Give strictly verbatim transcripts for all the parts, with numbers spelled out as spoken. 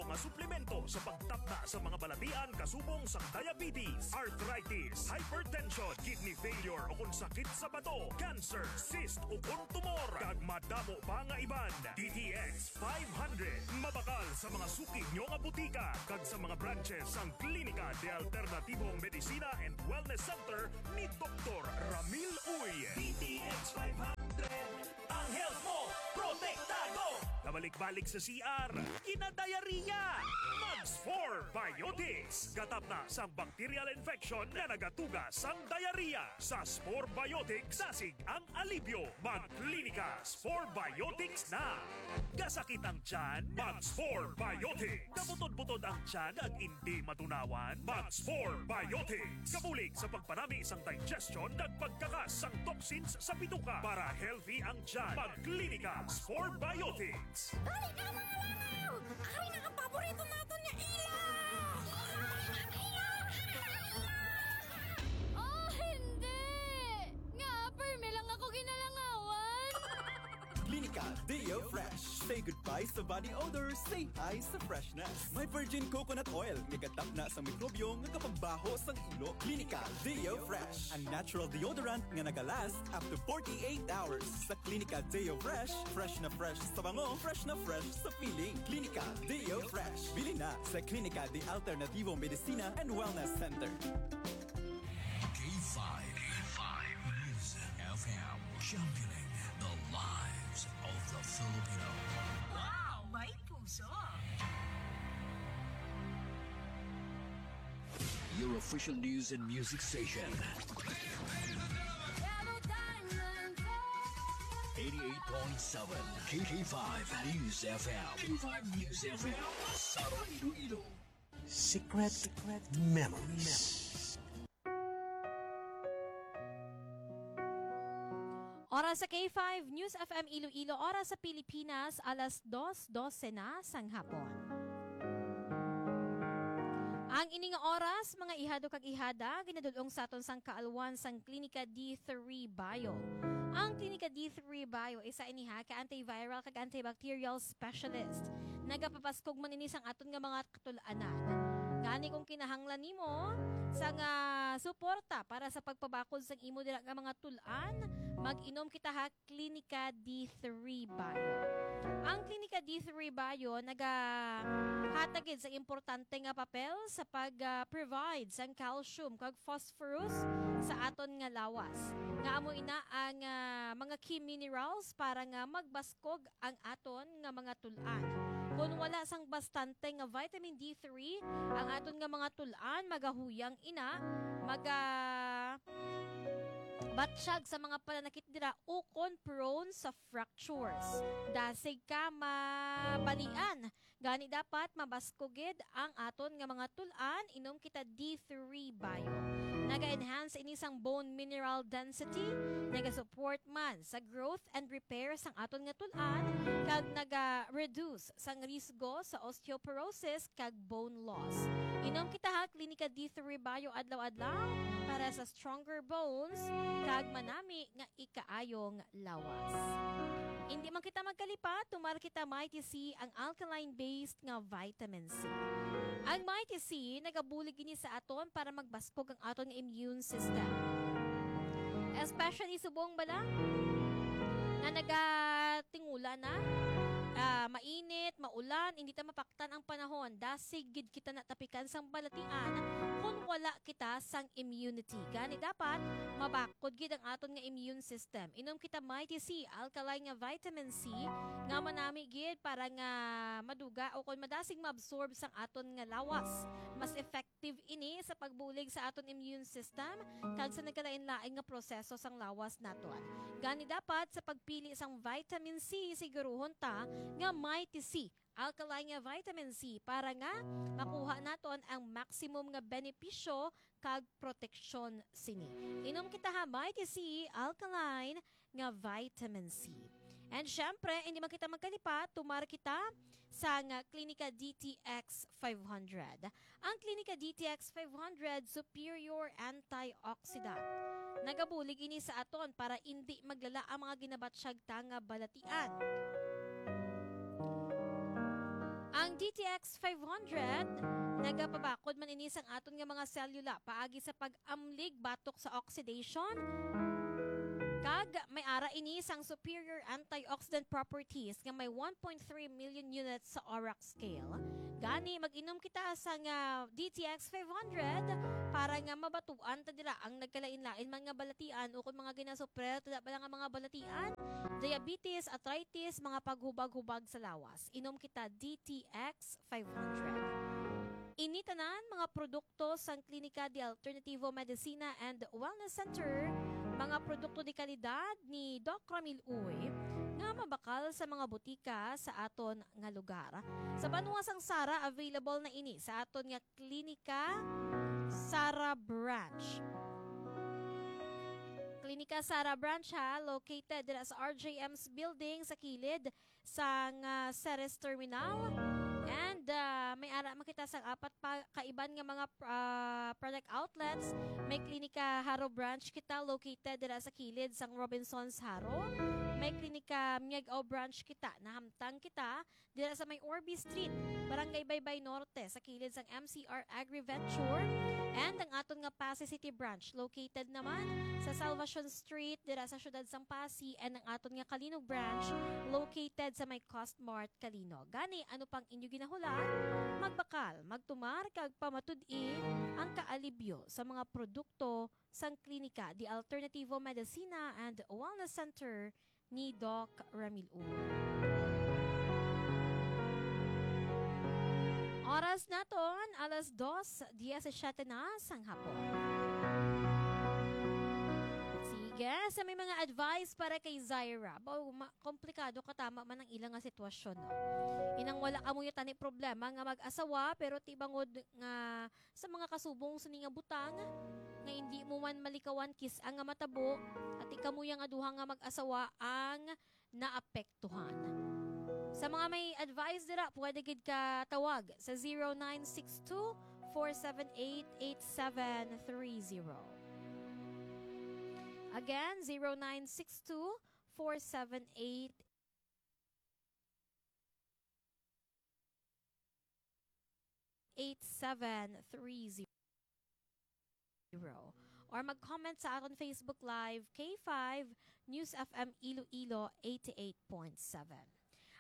Mga suplemento sa pagtapna sa mga balatian kasubong sa diabetes, arthritis, hypertension, kidney failure o kung sakit sa bato, cancer, cyst o kung tumor, kag madamo pa nga iban. D T X five hundred. Mabakal sa mga suki nyo nga butika kag sa mga branches sang Klinika de Alternativo Medicina and Wellness Center ni Doktor Ramil Uy. D T X five hundred. Ang health mo, protektado. Kabalik-balik sa C R, kinadayariya. Mag Spore Biotics. Gatapna sang bacterial infection nga nagatuga sang diarrhea. Sa Spore Biotics, dasig ang alibyo. Mag Klinika Spore Biotics na. Kasakit ang tiyan? Mag Spore Biotics. Kabutod-butod ang tiyan ag indi matunawan? Mag Spore Biotics. Kabulig sa pagpanami sang digestion kag pagkakas sang toxins sa bituka. Para healthy ang tiyan, mag Klinika Spore Biotics. Dali na, mga langaw! Ari na ang paborito naton nga ila! Oh, hindi! Nga, permi lang ako ginalangawan. Klinika Deo Fresh. Say goodbye sa body odor, say hi sa freshness. May virgin coconut oil, nga gatapna sa mikrobyo nga kapagbaho sang ulo. Klinika Deo Fresh, ang natural deodorant nga nagalast up to forty-eight hours. Sa Klinika Deo Fresh, fresh na fresh sa bango, fresh na fresh sa feeling. Klinika Deo Fresh. Bili na sa Klinika de Alternativo Medicina and Wellness Center. K five, K five News F M, championing the lives of the Filipino. Wow, may puso! Your official news and music station. Yellow Diamond. Eighty-eight point seven K K five News F M. K five News F M. Sa Iloilo. Secret, secret memories. Oras sa K five News F M Iloilo, oras sa Pilipinas, alas dos dose na sang hapon. Ang ini nga oras, mga ihado kag ihada, ginadul-ong sa aton sang kaalwan sang Klinika D three Bio. Ang Klinika D three Bio, isa ini ha, ka antiviral kag antibacterial specialist. Nagapabaskog man ini sang aton nga mga katul-anan. Gani kung kinahanglan nimo sang suporta para sa pagpabakod sang imo dira nga mga tul-an, mag-inom kita ha Klinika D three Bio. Ang Klinika D three Bio nagahatag gid sa importante nga papel sa pag-provide sang calcium kag phosphorus sa aton nga lawas, nga amo ina ang, ah, mga key minerals para nga magbaskog ang aton nga mga tul-an. Kon wala sang bastante nga vitamin D three, ang aton nga mga tul-an magahuyang ina, maga-, batsyag sa mga pananakit dira ukon prone sa fractures. Dasig ka mabalian. Gani dapat mabaskog gid ang aton nga mga tul-an, inom kita D three Bio. Naga-enhance ini sang bone mineral density, naga-support man sa growth and repair sang aton nga tul-an, kag naga-reduce sang risgo sa osteoporosis kag bone loss. Inom kita ha Klinika D three Bio adlaw-adlaw para sa stronger bones kag manami nga ikaayong lawas. Indi man kita magkalipat, tumar kita Mighty C, ang alkaline-based nga vitamin C. Ang Mighty C nagabulig ini sa aton para magbaskog ang aton nga immune system. Especially subong bala nga nagatingula na, ah, mainit, maulan, hindi ta mapaktan ang panahon, dasig gid kita natapikan sang balatian kon wala kita sang immunity. Gani dapat mabakod gid ang aton nga immune system. Inom kita Mighty C, alkaline nga vitamin C, nga manami gid para nga maduga o kon madasig maabsorb sang aton nga lawas. Mas effective ini sa pagbulig sa aton immune system kag sa nagkalain-lain nga proseso sang lawas naton. Gani dapat sa pagpili sang vitamin C, siguruhon ta nga Mighty C, alkaline nga vitamin C, para nga makuha naton ang maximum nga benepisyo kag proteksyon sini. Inom kita ha Mighty C, alkaline nga vitamin C. And syempre, hindi man kita magkalipat, tumar kita sang Klinika D T X five hundred. Ang Klinika D T X five hundred, superior antioxidant. Nagabulig ini sa aton para indi maglala ang mga ginabatsyag ta nga balatian. Ang D T X five hundred, nagapabakod man ini sang aton nga mga selula paagi sa pag-amlig batok sa oxidation, kag may ara ini sang superior antioxidant properties nga may one point three million units sa ORAC scale. Gani, mag-inom kita sang D T X five hundred para nga mabatuan ta dira ang nagkalain-lain man nga balatian ukon mga ginasupre ta bala nga mga balatian, diabetes, arthritis, mga paghubag-hubag sa lawas. Inom kita D T X five hundred. Ini tanan mga produkto sang Klinika de Alternativo Medicina and Wellness Center, mga produkto de kalidad ni Doc Ramil Uy, nga mabakal sa mga butika sa aton nga lugar. Sa banwa sang Sara, available na ini sa aton nga Klinika Sara Branch. Klinika Sara Branch, ha, located dira sa R J M's building sa kilid sang, ah, Ceres Terminal. And, ah, may ara man kita sang apat pa kaiban nga mga, ah, product outlets. May Klinika Jaro Branch kita located dira sa kilid sang Robinsons Jaro. May Klinika Miag-ao Branch kita, nahamtang kita dira sa may Orbi Street, Barangay Baybay Norte, sa kilid sang M C R Agriventure, and ang aton nga Passi City Branch located naman sa Salvacion Street dira sa siyudad sang Passi, and ang aton nga Calinog Branch located sa may Costmart Calinog. Gani, ano pang inyo ginahulat? Magbakal, magtumar, kag pamatud-i ang kaalibyo sa mga produkto sang Klinika de Alternativo Medicina and Wellness Center ni Doc Ramil Uy. Oras naton, alas dos diecisiete na sang hapon. Sige, sa may mga advice para kay Zaira, ba, ma-, komplikado ka tama man ang ilang nga sitwasyon, no? Inang wala ka mo tani problema nga mag-asawa, pero ti bangod nga sa mga kasubong sini nga butang, nga indi mo man malikawan kis-a nga matabo, at ikamuya nga duha nga mag-asawa ang naapektuhan. Sa mga may advice dira, pwede gid ka tawag sa zero nine six two, four seven eight, eight seven three zero. Again, zero nine six two, four seven eight, eight seven three zero. Or mag-comment sa aton Facebook Live, K five News F M Iloilo eighty-eight point seven.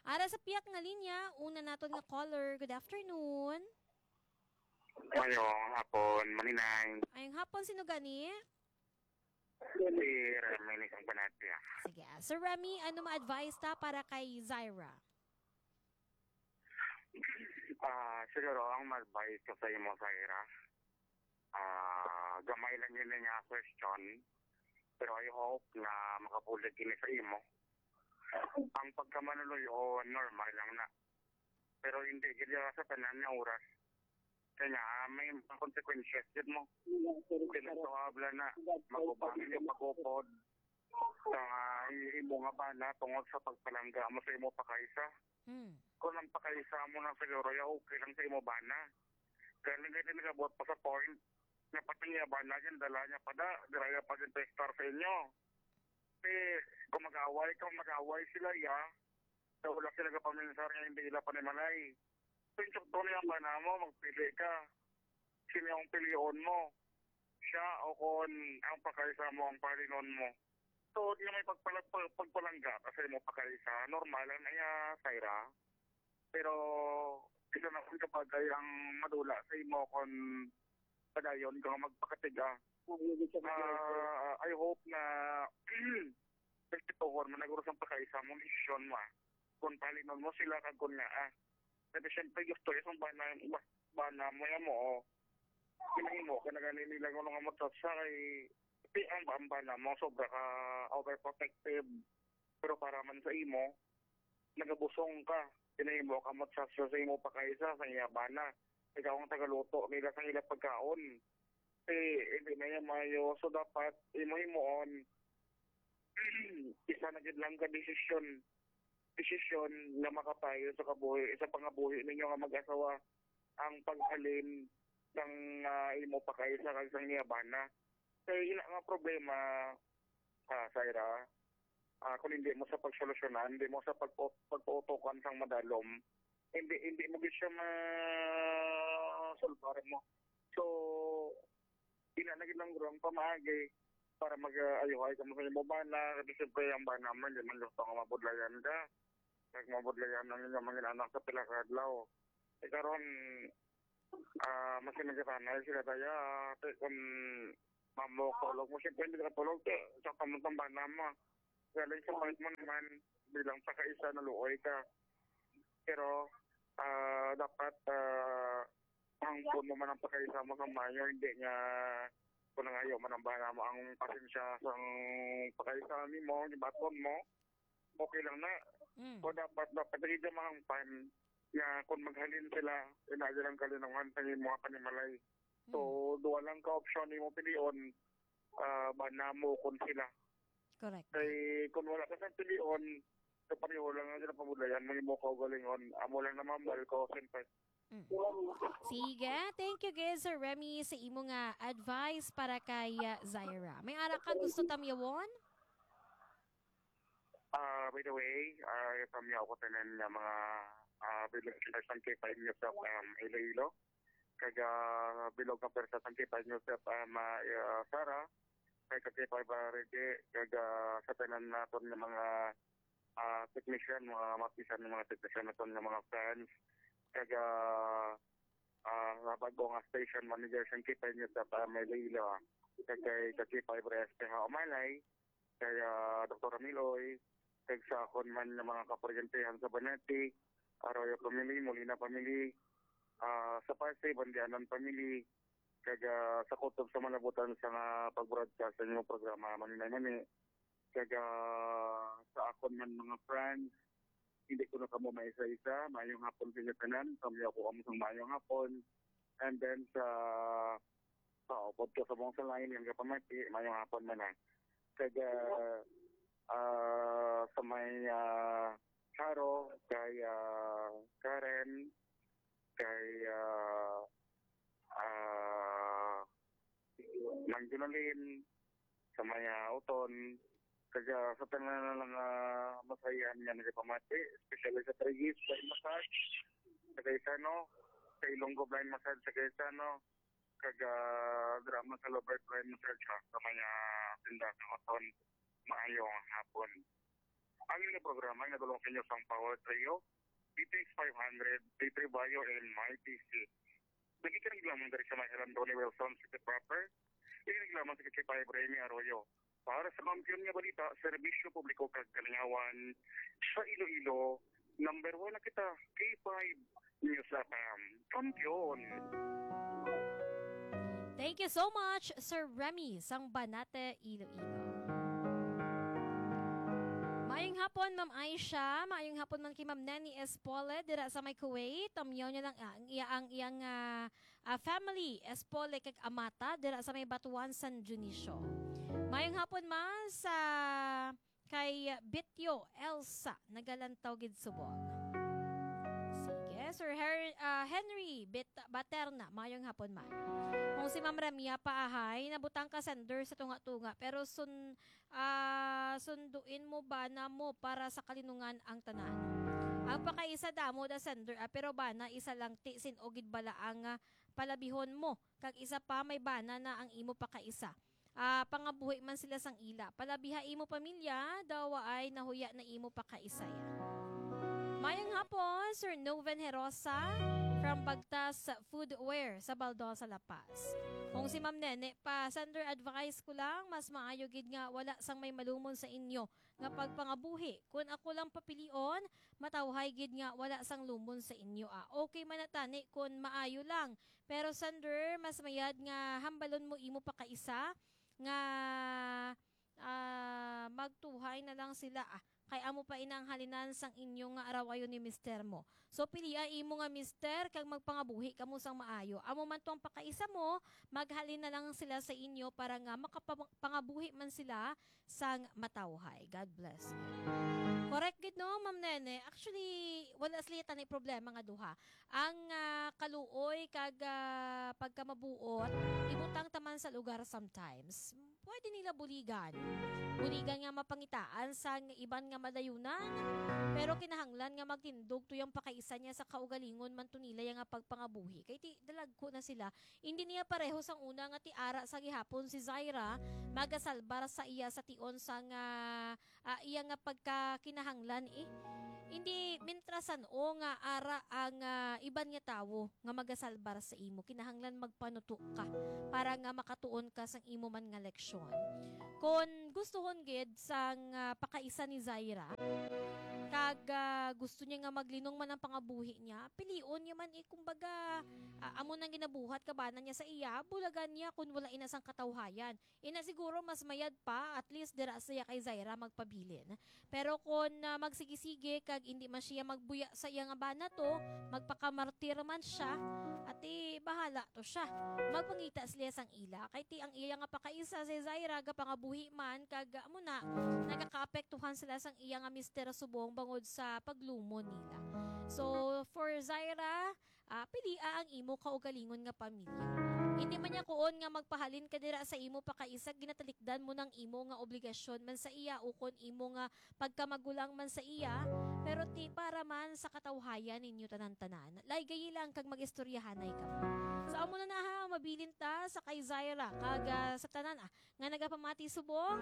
Ara sa piyak nga linya, una naton nga caller. Good afternoon. Mayong hapon, Maninay. Ayong hapon, sino gani? Si Remy ni Kang Panatia. Sige. Sir Remy, ano ma-advise ta para kay Zaira? Ah, siguro ang ma-advise ko sa imo, Zaira, ah, gamay lang yun nga question. Pero I hope na makabulig ini sa imo. Ang pagkamanuloy-on, normal lang na. Pero hindi gid sa tanan nga oras. Kaya nga, ah, may mga consequences gid mo. Pinagtuhabla na, magubang yung pag-upod. Sa, ah, i-, imo nga bana tungod sa pagpalangga mo sa imo pakaisa. Hmm. Kung ang pakaisa mo na siguro, ya okay lang sa imo bana. Kaya lang gid nagabot pa sa point nga pati niya bana, yan dala niya pa da, dira niya pa din testar sa inyo. Eh, kung mag-away ka, mag-away sila, ya. Sa wala sila kapaminsar nga hindi ila panimalay. Kung insukto niya ang bana mo, magpili ka. Sino ang pilion mo? Siya o kon ang pakaisa mo ang palinon mo? Tuod nga may pagpala-, pag-, pagpalangga ka sa imo pakaisa, normal lang na iya, Syra. Pero sila na kung kabagay ang madula sa imo kon padayon ka nga magpakatiga. Ah, I hope na respetuhon mo na guro sang pakaisa mo, desisyon mo, ah. Kung palinon mo sila kag kung nga, ah. Pero siyempre, gusto yung bana, ba-, bana mo yan mo, oh. Kinahimo ka na gani nila kung nga matsatsa kay, ti ang ba-, ang bana mo, sobra ka overprotective. Pero para man sa imo, nagabusong ka. Kinahimo ka matsatsa sa imo pakaisa, sa iya bana. Ikaw ang tagaluto nila sa ila pagkaon. Eh, hindi na yan maayo. So, dapat imo-imoon, isa na gid lang ka desisyon, desisyon nga makapayo sa kabuhi, sa pangabuhi ninyo nga mag-asawa, ang paghalin sang, ah, imo pakaisa kag sang iya bana. Kay ila nga problema, ah, Syra, ah, kung hindi mo sa pagsolusyonan, hindi mo sa pagpo-, pagpautukan sang madalom, hindi, hindi mo gid siya masulbar mo. So, ina na gid lang guro ang pamaagi para mag-ayuhay kamo sa imo bana, kasi siyempre ang bana mo, hindi man gusto nga mabudlayan ka. Kag mabudlayan ang inyong mga anak sa pila ka adlaw. Eh, karon, ah, mas nagatanay sila daya, ate, kung mamo, tulog mo, siyempre hindi ka tulog, eh, sa kamutang bana mo. Galing sa part mo naman, bilang sa kaisa, naluoy ka. Pero, ah, dapat, ah, hangpon mo man ang pakaisa mo sa mayo, hindi nga kung nangayo man ang bana mo ang pasensya sang pakaisa nimo, gibaton mo, okay lang na. Mm. So, dapat, dapat hindi mahangpan nga kung maghalin sila, ina lang kalinungan sa imo nga panimalay. So, Mm. duha lang ka opsyon nimo pilion, ah, bana mo kung sila. Correct. Kay kung wala ka sang pilion, so pareho lang ang sila pamudlayan, may mo kaugalingon. Amo lang naman, mahal ko, siyempre. Mm. Sige, thank you, guys, Sir Remy, sa imo nga advice para kay, uh, Zaira. May ara ka gusto tamyawon? Ah, by the way, ah, tamyaw ko tanan nga mga, ah, village leaders ng K five News of, um, Iloilo. Kag, ah, bilog nga pwersa sang K five News of, um, ah, ah, Sara, kay ka K five, ah, Reggie, kag, ah, sa tanan naton nga mga, ah, technician, mga mapisan nga mga technician naton nga mga fans, kag, ah, ah, nga bag-o nga station manager sang K five News of, um, Iloilo, ah. Kag kay ka K five Reyes, kay ha, Umalay, kay, ah, Doktor Ramiloy, kag sa akon man nga mga kaparyentehan sa Banati, Arroyo family, Molina family, ah, sa Pasay, Bandianan family, kag, ah, sa kutob sa malabutan sa nga pag-broadcast sa inyong programa, Maninay Mani. Kag, ah, sa akon man mga friends, hindi ko na kamo maisa-isa. Mayong hapon sa inyo tanan. Kami ako kamo sang mayong hapon. And then sa, sa upod ko sa mong sa line, yung kapamati, mayong hapon man na. Kag, ah, ah, sa may, ah, Charo, kay, ah, Karen, kay, ah, ah, Mang Junalin, sa may, ah, Uton, kag sa tanan na lang, ah, masayan nga nagapamati, especially sa Trigis, Blind Massage, sa Gaisano, sa Ilonggo Blind Massage, sa Gaisano, kag, ah, drama sa Lobert Blind Massage, ha, sa may, ah, tindahan ng Uton. Maayong hapon. Ang inyong programa nga dulong sa inyo sang Power Trio, D T X five hundred, D three Bayo, and My P C. Nagkikirang lamang diri sa may Alan Tony Wilson City Proper. Ikinig lamang sa K five Remy Arroyo. Para sa kampiyon nga balita, serbisyo publiko kag kalingawan sa Iloilo, number one na kita, K five News F M. Kampiyon! Thank you so much, Sir Remy, sang Banate, Iloilo. Maayong hapon, Ma'am Aisha. Maayong hapon man kay Ma'am Neni Espole, dira sa may Kuwait. Tamyaw niya lang, ah, ang iya, ang iyang, ah, ah, family, Espole kag Amata, dira sa may Batuan, San Dionisio. Maayong hapon man sa kay Bityo Elsa, nagalantaw gid subong. Sige, Sir Her-, ah, Henry Bit-, Baterna, maayong hapon man. Kung si Ma'am Ramia Paahay, nabutang ka sender sa tunga-tunga, pero sun-, ah, sunduin mo bana mo para sa kalinungan ang tanan. Ang pakaisa damo da sender, ah, pero bana isa lang ti sin-o gid bala ang, ah, palabihon mo, kag isa pa may bana na ang imo pakaisa. Ah, pangabuhi man sila sang ila. Palabiha imo pamilya, daw ay nahuya na imo pakaisay. Mayang hapon, Sir Noven Herosa from Bagtas Foodware sa Baldosa, La Paz. Kung si Ma'am Nene pa, sender advice ko lang, mas maayo gid nga wala sang may malumon sa inyo nga pagpangabuhi. Kun ako lang papilion, matawhay gid nga wala sang lumon sa inyo, ah. Okay man na tani kun maayo lang. Pero, sender, mas mayad nga hambalon mo imo pakaisa nga, ah, magtuhay na lang sila, ah. Kay amo pa ina ang halinan sang inyo nga arawayon ni mister mo. So, pilia imo nga mister kag magpangabuhi kamo sang maayo. Amo man to ang pakaisa mo, maghalin na lang sila sa inyo para nga makapang-, pangabuhi man sila sang matawhay. God bless you. Correct gid, no, Ma'am Nene? Actually, wala sila tani problema nga duha. Ang, ah, kaluoy kag, ah, pagkamabuot, ibutang ta man sa lugar sometimes. Pwede nila buligan. Buligan nga mapangitaan sang iban nga madayunan, pero kinahanglan nga magtindog tuyang pakaisa niya sa kaugalingon man to nila ya nga pagpangabuhi. Kay ti, dalagko na sila. Hindi niya pareho sang una nga ti ara sa gihapon si Zaira, magasalbar sa iya sa tion sang, ah, ah, iya nga pagkakinahanglan, eh. Hindi, mintrasan o nga ara ang, ah, iban nga tawo nga magasalbar sa imo, kinahanglan magpanuto ka para nga makatuon ka sang imo man nga leksyon. Kon gustuhon gid sang, ah, pakaisa ni Zaira, kag, ah, gusto niya nga maglinong man ang pangabuhi niya, pilion niya man, eh, kumbaga, ah, amo nang ginabuhat kabana niya sa iya, bulagan niya kon wala ina sang katawhayan. Ina siguro mas mayad pa, at least dira siya kay Zaira magpabilin. Pero kon, ah, magsigi-sige kag indi man siya magbuya sa iya nga bana to, magpakamartir man siya, ati bahala to siya. Magpangita sila sang ila. Kay ti ang iya nga pakaisa si Zaira gapangabuhi man, kag amo na, nagakaapektuhan sila sang iya nga mister subong bangod sa paglumo nila. So, for Zaira, ah, pilia ang imo kaugalingon nga pamilya. Hindi man niya kuon nga magpahalin ka dira sa imo pakaisa, ginatalikdan mo nang imo nga obligasyon man sa iya ukon imo nga pagkamagulang man sa iya, pero ti para man sa katawhayan ninyo tanan-tanan. Laygayi lang kag mag-istoryahanay kamo. So, amo na na ha, mabilin ta sa kay Zaira kag, ah, sa tanan, ah, nga nagapamati subong.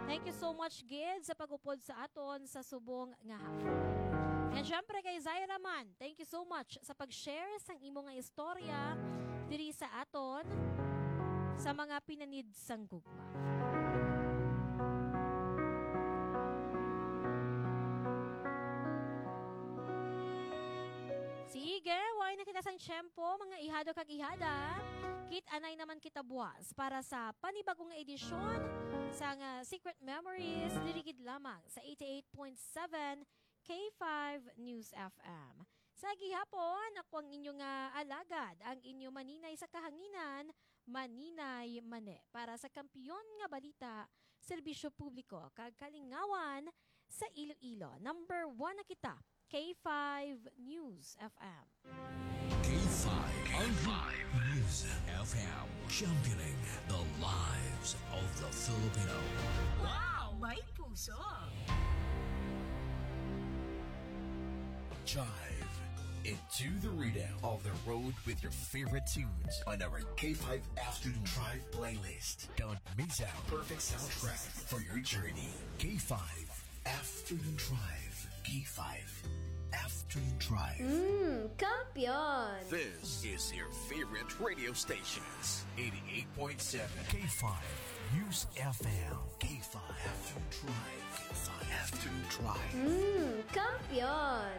Thank you so much gid sa pag-upod sa aton sa subong nga hapon. And syempre kay Zaira man, thank you so much sa pag-share sang imo nga istorya diri sa aton sa mga pinanid sang gugma. Sige, way na kita sang tiyempo, mga ihado kag ihada. Kit-anay naman kita buwas para sa panibago nga edisyon sang, ah, Secret Memories, diri gid lamang sa eighty-eight point seven K five News F M. Sa gihapon, ako ang inyo nga alagad, ang inyo maninay sa kahanginan, Maninay Mane. Para sa Kampiyon nga Balita, Serbisyo Publiko, kag Kalingawan sa Iloilo. Number one na kita, K five News F M. K five K five News F M, championing the lives of the Filipino. Wow! May puso! Jive into the rhythm of the road with your favorite tunes on our K five Afternoon Drive playlist. Don't miss out. Perfect soundtrack for your journey. K five Afternoon Drive. K five Afternoon Drive. Mm, kampiyon! This is your favorite radio stations. Eighty-eight point seven K five News F M. K five Afternoon Drive. K five Afternoon Drive. Mm, kampiyon!